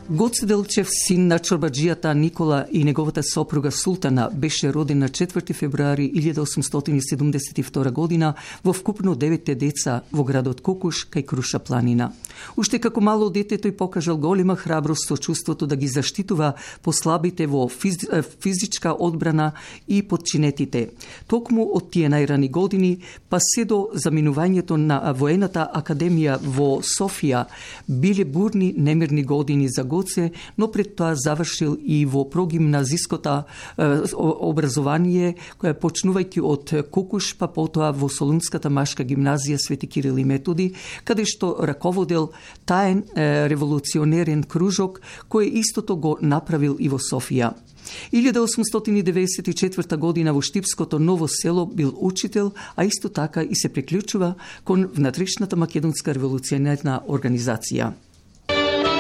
Гоце Делчев, син на чорбаджијата Никола и неговата сопруга Султана, беше роден на 4 февруари 1872 година во вкупно 9 деца во градот Кокуш кај Круша планина. Уште како мало дете тој покажал голема храброст со чувството да ги заштитува послабите во физичка одбрана и подчинетите. Токму од тие најрани години, па се до заминувањето на воената академија во Софија, биле бурни немирни години за Гоце, но пред тоа завршил и во прогимназиското образование, која почнувајќи од Кокуш, па потоа во Солунската машка гимназија Свети Кирил и Методи, каде што раководел таен револуционерен кружок, кој истото го направил и во Софија. 1894 година во Штипското Ново село бил учител, а исто така и се приклучува кон внатрешната македонска револуционерна организација.